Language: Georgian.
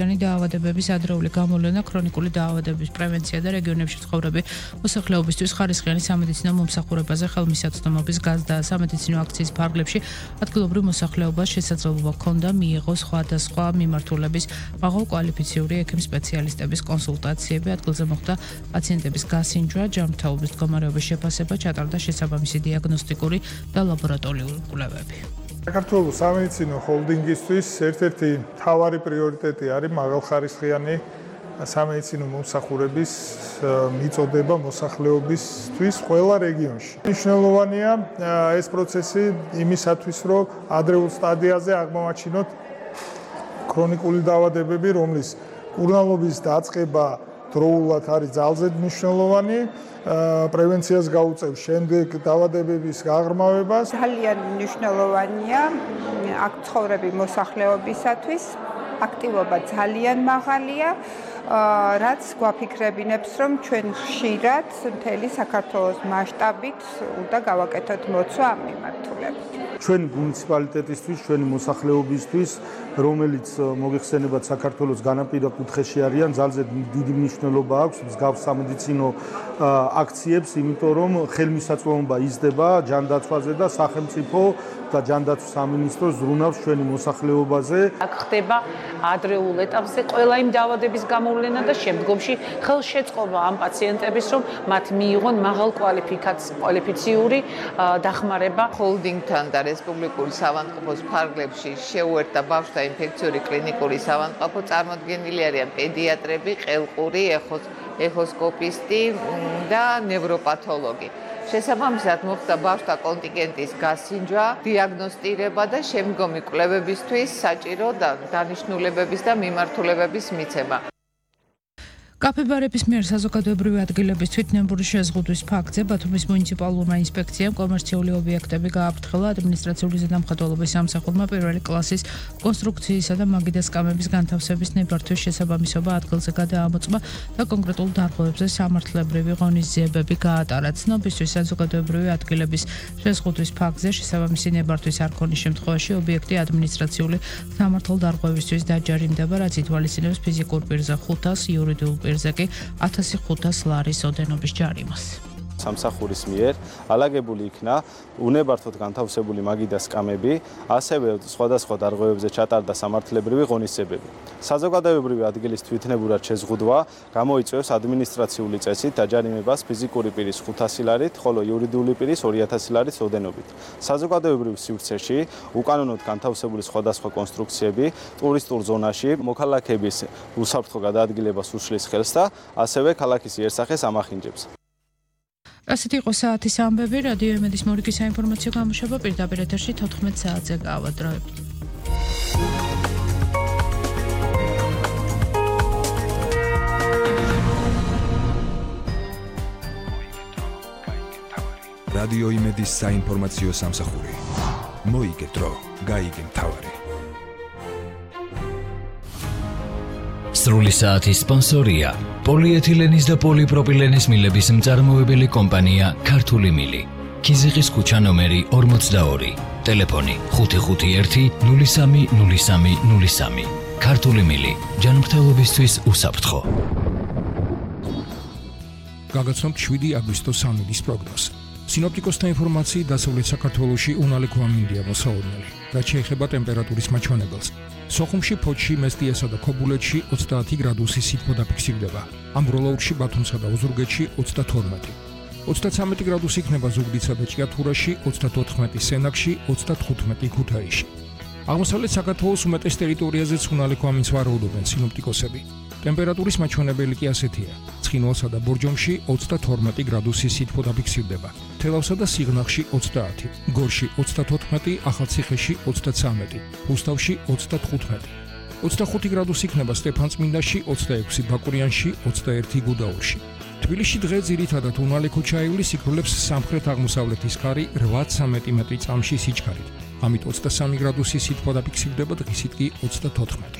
დაავადებების ადრეული გამოვლენა, ქრონიკული დაავადების პრევენცია და რეგიონებში ცხოვრები მოსახლეობისთვის ხარისხიანი სამედიცინო მომსახურებაზე ხელმისაწვდომობის გაზრდა. სამედიცინო აქციის ფარგლებში ადგილობრივ მოსახლეობას შესაძლებლობა ჰქონდა მიიღოს სხვადასხვა მიმართულების მაღალკვალიფიციური ექიმ სპეციალისტების კონსულტაციები, ადგილზე მოხდა პაციენტების გასინჯვა, ჯანმრთელობის მდგომარეობის შეფასება, ჩატარდა შესაბამისი დიაგნოსტიკური და ლაბორატორიული კვლევები. საქართველოს სამედიცინო ჰოლდინგისთვის ერთ-ერთი მთავარი პრიორიტეტი არის მაღალხარისხიანი სამედიცინო მომსახურების მიწოდება მოსახლეობისთვის ყველა რეგიონში. მნიშვნელოვანია ეს პროცესი იმისათვის, რომ ადრეულ სტადიაზე აღმოვაჩინოთ ქრონიკული დაავადებები, რომლის კურნალობის დაწყება დროულად არის ძალზე მნიშვნელოვანი, პრევენციას გაუწევს შემდეგ დაავადებების გაღრმავებას. ძალიან მნიშვნელოვანია აქ ცხოვრები მოსახლეობისათვის, აქტივობა ძალიან მაღალია, რაც გვაფიქრებინებს, რომ ჩვენ ხშირად მთელი საქართველოს მასშტაბით უნდა გავაკეთოთ მოცვა ამ მიმართულებით. ჩვენ მუნიციპალიტეტისთვის, ჩვენი მოსახლეობისთვის, რომელიც მოგეხსენებათ საქართველოს განაპირა კუთხეში არიან, ძალზე დიდი მნიშვნელობა აქვს მსგავს სამედიცინო აქციებს, იმიტომ რომ ხელმისაწვდომობა იზრდება ჯანდაცვაზე და სახელმწიფო და ჯანდაცვის სამინისტრო ზრუნავს ჩვენი მოსახლეობაზე. აქ ხდება ადრეულ ეტაპზე ყველა იმ დაავადების გამოვლენა და შემდგომში ხელშეწყობა ამ პაციენტების, რომ მათ მიიღონ მაღალკვალიფიციური დახმარება. ჰოლდინგთან და რესპუბლიკური ავადმყოფოს ფარგლებში შეუერთდა ბავშვთა ინფექციური კლინიკური ავადმყოფო, წარმოდგენილი არიან პედიატრები, ყელყური, ეხოსკოპისტი და ნევროპათოლოგი. შესაბამისად მოხდა ბავშვთა კონტინგენტის გასინჯვა, დიაგნოსტირება და შემდგომი კვლევებისთვის საჭირო დანიშნულებების და მიმართულებების მიცემა. კაფებარების მიერ საზოგადოებრივი ადგილების თვითნებური შეზღუდვის ფაქტზე ბათუმის მუნიციპალურმა ინსპექციამ კომერციული ობიექტები გააფრთხილა ადმინისტრაციული ზედამხედველობის სამსახურმა პირველი კლასის კონსტრუქციისა და მაგიდას კამების განთავსების ნებართვის შესაბამისობა ადგილზე გადაამოწმა და კონკრეტულ დარღვევებზე სამართლებრივი ღონისძიებები გაატარა. ცნობისთვის საზოგადოებრივი ადგილების შეზღუდვის ფაქტზე შესაბამისი ნებართვის არ ქონის შემთხვევაში ობიექტი ადმინისტრაციული სამართალდარღვევისთვის დაჯარიმდება, რაც ითვალისწინებს ფიზიკურ პირზე 500, იურიდიულ პირზე კი 1500 ლარის ოდენობის ჯარიმას. სამსახურის მიერ ალაგებული იქნა უნებართვოდ განთავსებული მაგიდას კამები, ასევე სხვადასხვა დარღვევებზე ჩატარდა სამართლებრივი ღონისძიებები. საზოგადოებრივი ადგილის თვითნებურად შეზღუდვა გამოიწვევს ადმინისტრაციული წესით დაჯარიმებას ფიზიკური პირის 500 ლარით, ხოლო იურიდიული პირის 2000 ლარით ოდენობით. საზოგადოებრივ სივრცეში უკანონოდ განთავსებული სხვადასხვა კონსტრუქციები ტურისტულ ზონაში მოქალაქეების უსაფრთხო გადაადგილებას უშლის ხელს და ასევე ქალაქის იერსახეს ამახინჯებს. ასეთი იყო საათის ამბები, რადიო იმედის მორიგის საინფორმაციო გამოშვება პირდაპირ ეთერში 14 საათზე გავადროებთ. რადიო იმედის საინფორმაციო სამსახური. მოიგე დრო, გაიგე მთავარი. სრული საათის სპონსორია პოლიეთილენის და პოლიპროპილენის მილების მწარმოებელი კომპანია ქართული მილი. ქიზიყის ქუჩა ნომერი 42, ტელეფონი 551-030303. ქართული მილი, ჯანმრთელობისთვის უსაფრთხო. გაგაცნობთ 7 აგვისტოს სამინის პროგნოზს. სინოპტიკოსთა ინფორმაციით დასავლეთ საქართველოში უნალექო ამინდია მოსაოდნელი, რაც შეეხება ტემპერატურის მაჩვენებელს. სოხუმში, ფოთში, მესტიასა და ქობულეთში 30 გრადუსი სითბო დაფიქსირდება. ამბროლაურში, ბათუმსა და ოზურგეთში 32. 33 გრადუსი იქნება ზუგდიდსა და ჭიათურაში, 34 სენაკში, 35 ქუთაისში. აღმოსავლეთ საქართველოს უმეტეს ტერიტორიაზეც უნალექო ამინდს ვარაუდობენ სინოპტიკოსები. ტემპერატურის მაჩვენებელი კი ასეთია: ცხინვალსა და ბორჯომში 32 გრადუსი სითბო დაფიქსირდება, თელავსა და სიღნაღში 30, გორში 34, ახალციხეში 33, რუსთავში 35. 25 გრადუსი იქნება სტეფანწმინდაში, 26 ბაკურიანში, 21 გუდაურში. თბილისში დღე ძირითადად უნალექო ჩაივლის, იქრულებს სამხრეთ-აღმოსავლეთის ქარი 8-13 წამში სიჩქარით. ამით 23 გრადუსი სითბო დაფიქსირდება, დღისით კი 34.